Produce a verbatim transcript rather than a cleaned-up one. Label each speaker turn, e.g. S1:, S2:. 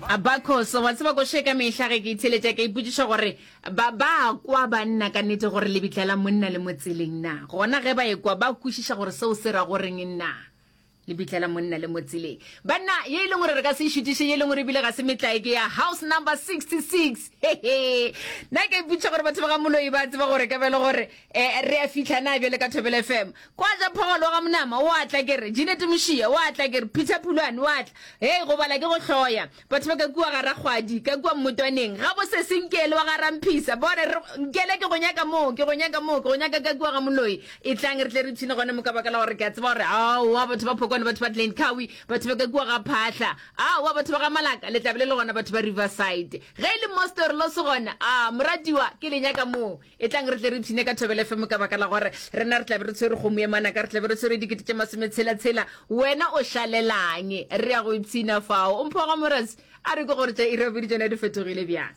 S1: Abacos, wa tseba koše ka mehla ge ke itheletša ke ipotšiša gore ba ba kwa banna ka nnete gore lebitla la monna le mo tseleng na gona ge ba ekwa ba kwešiša gore seo se ra goreng na lebitla la monna le mo tseleng banna ye e leng gore re ka se e šutiše ye e leng gore ebile ga se metlae ke ya house number sixty-six. Hehe, nna ke ipotšiša gore batho ba ga Moloi ba tseba gore ka bjale gore um re a fihla na bjale ka Thobela F M kwa ja phogolo wa ga Monama o a tla ke re Jeanette Mošia o a tla ke re Peter Phulwane o a tla hei go bala ke go hloya batho ba ka kua ga Rakgwadi ka kua Mmotwaneng ga bo se Senkele wa ga Ramphisa bone re Nkele ke go nyaka moo ke go nyaka moo ke go nyaka ka kua ga Moloi e tlang re tle re ipshine gona mo ka baka la gore ke a tseba gore aowa batho ba Phokwane batho ba Glencoe batho ba ka kua ga Phahla aowa batho ba ga Malaka le tla be le le gona batho ba Riverside ge e le mo Storlos gona a moratiwa ke le nyaka moo e tlang re tle re ipshine ka Thobela F M ka baka la gore rena re tla be re tshwere kgomo ye manaka re tla be re tshwere dikete tše masometshela-tshela wena o šalelang re ya go ipshina fao o mpho ga morasi a re ke gore tša iri ya bobedi tšona di fetogile bjang.